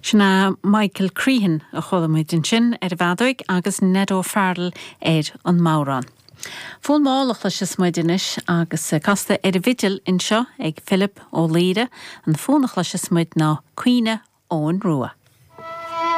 Sin é Michael Crehan a chuala muid ansin ar an bhfeadóig agus Ned O'Farrell ar an mbodhrán. Fonn mall a chloisfeas muid anois agus casta ar an bhfidil anseo ag Philip Ó Laoire. An fonn a chloisfeas muid ná Caoineadh Eoghain Rua.